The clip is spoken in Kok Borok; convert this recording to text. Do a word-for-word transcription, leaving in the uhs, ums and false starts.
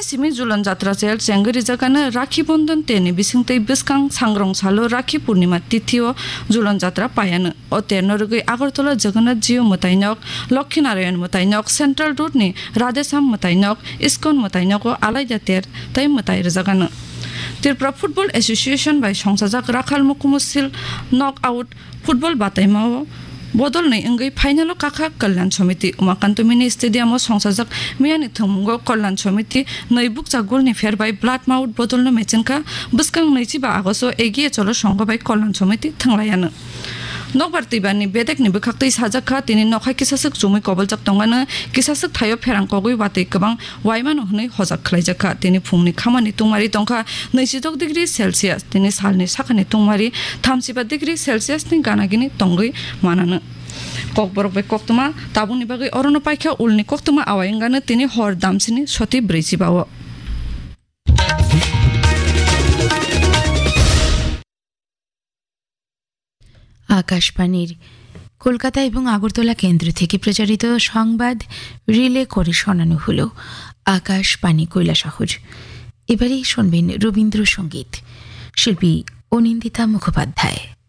Simi Julon Jatra chel chengwi rijakano Rakhi Bondon terni bisingtwi bwskang Sangrong salo Rakhi Purnima tithio Julon Jatra paiano. O terno rwgwi Agartala Jagannath Jio mwtainok, Lokhi Narayan mwtainok, Central Road ni Radheshyam mwtainok, Iskon mwtainogo alaida ter tei mwtai rwjagano. Tripura Football Association bai songsajak Rakhal Mukumu Seal Knock Out football bataimao bodolni wngwi final-o kakha Kalyan Samiti. Umakanto Mini Stadium-o songsajak miyani thwngmungo Kalyan Samiti nwi bukcha golni pher bai Blood Mouth bodolno mechenkha. Bwskang nwichiba Agosto Egiye Cholo songho bai Kalyan Samiti thwnglaiano. Nokbar twibarni bedekni bwkhaktwi sajakha, tini nokha kisaswk chumui koboljak tongmano, kisaswk thaio pherang kogwi watwi kwbang waimano hwnwi hojak khlaijakha. Tini phungni khamani tungmari tongkha nwichidok degree Celsius, tini salni sakhani tungmari thamsiba degree Celsius ni ganagini tongwi manano. Kokborok bai koktwma tabukni bagwi orono paikha ulni koktwma awai wngano tini hor damsini soti brwichiba-o. আকাশবাণীর কলকাতা এবং আগরতলা কেন্দ্র থেকে প্রচারিত সংবাদ রিলে করে শোনানো হলো আকাশবাণী কৈলাসহর। এবারে শুনবেন রবীন্দ্রসঙ্গীত। শিল্পী অনিন্দিতা মুখোপাধ্যায়।